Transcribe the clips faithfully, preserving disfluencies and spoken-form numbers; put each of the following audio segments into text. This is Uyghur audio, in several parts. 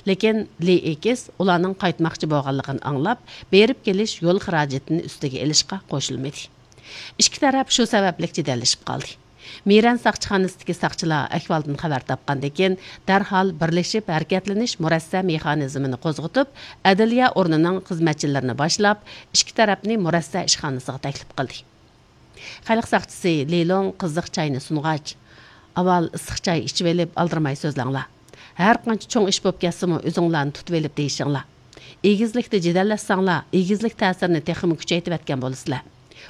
لېكىن لى ئېكىس ئۇلارنىڭ قايتماقچى بولغانلىقىنى ئاڭلاپ، بېرىپ كېلىش يول خىراجىتىنى ئۈستىگە ئېلىشقا قوشۇلمىدى. ئىككى تەرەپ شۇ سەۋەبلىك جېدەللىشىپ قالدى. مىرەن ساقچىخانىسىدىكى ساقچىلار ئەھۋالدىن خەۋەر تاپقاندىن كېيىن، دەرھال بىرلىشىپ ھەرىكەتلىنىش مۇرەسسە مېخانىزمىنى قوزغىتىپ، ئەدلىيە ئورنىنىڭ خىزمەتچىلىرىنى باشلاپ، ئىككى تەرەپنى مۇرەسسە ئىشخانىسىغا تەكلىپ قىلدى. خەلق ساقچىسى لى لوڭ قىزىق چاينى سۇنغاچ، ئاۋۋال ئىسسىق چاي ئىچىۋېلىپ ئالدىرىماي سۆزلەڭلار. ھەرقانچە چوڭ ئىش بولۇپ كەتسىمۇ ئۆزۈڭلارنى تۇتۇۋېلىپ دېيىشىڭلار. ئېگىزلىكتە جېدەللەشسەڭلار، ئېگىزلىك تەسىرىنى تېخىمۇ كۈچەيتىۋەتكەن بولىسىلەر.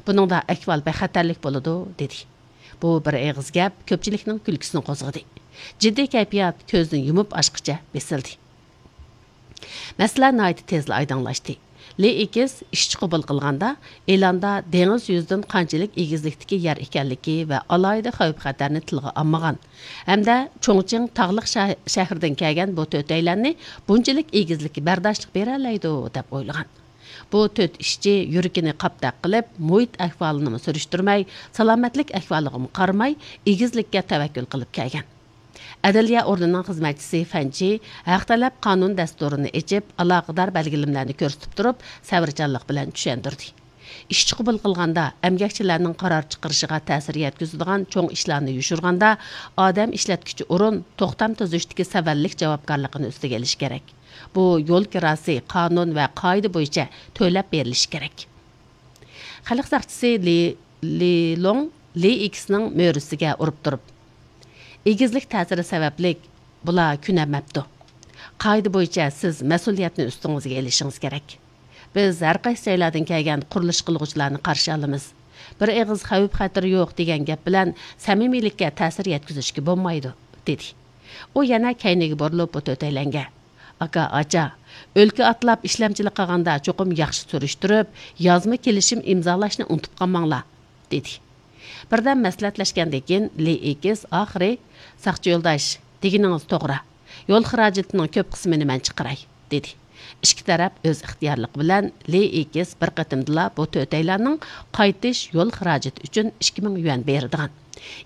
بۇنىڭدا ئەھۋال بەك خەتەرلىك بولىدۇ، دېدى. بۇ بىر ئېغىز گەپ كۆپچىلىكنىڭ كۈلكىسىنى قوزغىدى. جىددىي كەيپىيات كۆزنى يۇمۇپ ئاچقىچە بېسىلدى. مەسىلە ناھايىتى تېزلا ئايدىڭلاشتى. لى ئېكىس ئىشچى قوبۇل قىلغاندا، ئېلاندا دېڭىز يۈزىدىن قانچىلىك ئېگىزلىكتىكى يەر ئىكەنلىكى ۋە ئالاھىدە خەۋپ-خەتەرنى تىلغا ئالمىغان ھەمدە چۇڭچىڭ تاغلىق شە-، شەھىرىدىن كەلگەن بۇ تۆتەيلەننى بۇنچىلىك ئېگىزلىككە بەرداشلىق بېرەلەيدۇ، دەپ ئويلىغان. بۇ تۆت ئىشچى يۈرىكىنى قاپتەك قىلىپ، مۇھىت ئەھۋالىنىمۇ سۈرۈشتۈرمەي، سالامەتلىك ئەھۋالىغىمۇ قارىماي، ئېگىزلىككە تەۋەككۈل قىلىپ كەلگەن. ئەدلىيە ئورنىنىڭ خىزمەتچىسى فەنچى ھەق تەلەپ قانۇن دەستۇرىنى ئېچىپ، ئالاقىدار بەلگىلىمىلەرنى كۆرسىتىپ تۇرۇپ، سەۋرچانلىق بىلەن چۈشەندۈردى. ئىشچى قوبۇل قىلغاندا، ئەمگەكچىلەرنىڭ قارار چىقىرىشىغا تەسىر يەتكۈزىدىغان چوڭ ئىشلارنى يوشۇرغاندا، ئادەم ئىشلەتكۈچى ئورۇن توختام تۈزۈشتىكى سەۋەنلىك جاۋابكارلىقىنى ئۈستىگە ئېلىشى كېرەك. بۇ يول كىراسى قانۇن ۋە قائىدە بويىچە تۆلەپ بېرىلىشى كېرەك. خەلق ساقچىسى لى، لى لوڭ لى ئېكىسنىڭ مۈرىسىگە ئۇرۇپ تۇرۇپ، ئېگىزلىك تەسىرى سەۋەبلىك بۇلار كۆنەلمەپتۇ. قائىدە بويىچە سىز مەسئۇلىيەتنى ئۈستىڭىزگە ئېلىشىڭىز كېرەك. بىز ھەر قايسى جايلاردىن كەلگەن قۇرۇلۇش قىلغۇچىلارنى قارشى ئالىمىز. بىر ئېغىز خەۋپ-خەتىرى يوق دېگەن گەپ بىلەن سەمىمىيلىككە تەسىر يەتكۈزۈشكە بولمايدۇ، دېدى. ئۇ يەنە كەينىگە بۇرۇلۇپ بۇ تۆتەيلەنگە، ئاكا، ئاچا، ئۆلكە ئاتلاپ ئىشلەمچىلىك قىلغاندا چوقۇم ياخشى سۈرۈشتۈرۈپ، يازما كېلىشىم ئىمزالاشنى ئۇنتۇپ قالماڭلار، دېدى. بىردەم مەسلىھەتلەشكەندىن كېيىن، لى ئېكىس ئاخىرى، ساقچى يولداش، دېگىنىڭىز توغرا. يول خىراجىتىنىڭ كۆپ قىسمىنى مەن چىقىراي، دېدى. ئىككى تەرەپ ئۆز ئىختىيارلىقى بىلەن لى ئېكىس بىر قېتىمدىلا بۇ تۆتەيلەننىڭ قايتىش يول خىراجىتى ئۈچۈن ئىككى مىڭ يۈەن بېرىدىغان،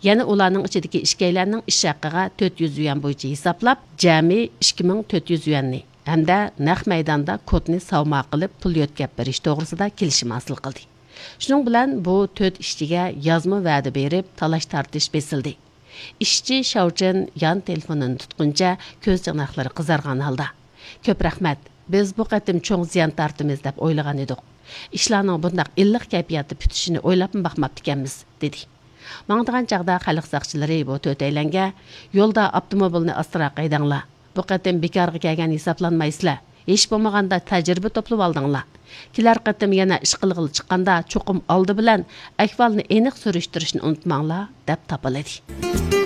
يەنە ئۇلارنىڭ ئىچىدىكى ئىككىيلەننىڭ ئىش ھەققىغا تۆت يۈز يۈەن بويىچە ھېسابلاپ، جەمئىي ئىككى مىڭ تۆت يۈز يۈەننى ھەمدە نەق مەيداندا كودنى ساۋما قىلىپ پۇل يۆتكەپ بېرىش توغرىسىدا كېلىشىم ھاسىل قىلدى. شۇنىڭ بىلەن بۇ تۆت ئىشچىگە يازما ۋەدە بېرىپ، تالاش-تارتىش بېسىلدى. ئىشچى شاۋچىن يان تېلېفونىنى تۇتقىنىچە كۆز چاناقلىرى قىزارغان ھالدا، كۆپ رەھمەت، بىز بۇ قېتىم چوڭ زىيان تارتىمىز دەپ ئويلىغان ئىدۇق. ئىشلارنىڭ بۇنداق ئىللىق كەيپىياتتا پۈتۈشىنى ئويلاپمۇ باقماپتىكەنمىز، دېدى. ماڭىدىغان چاغدا خەلق ساقچىلىرى بۇ تۆتەيلەنگە، يولدا ئاپتوموبىلنى ئاستىراق ھەيدەڭلار. بۇ قېتىم بىكارغا كەلگەن ھېسابلانمايسىلەر. ھېچ بولمىغاندا تەجرىبە توپلىۋالدىڭلار. كېلەر قېتىم يەنە ئىش قىلغىلى چىققاندا چوقۇم ئالدى بىلەن ئەھۋالنى ئېنىق سۈرۈشتۈرۈشنى ئۇنتۇماڭلار، دەپ تاپىلىدى.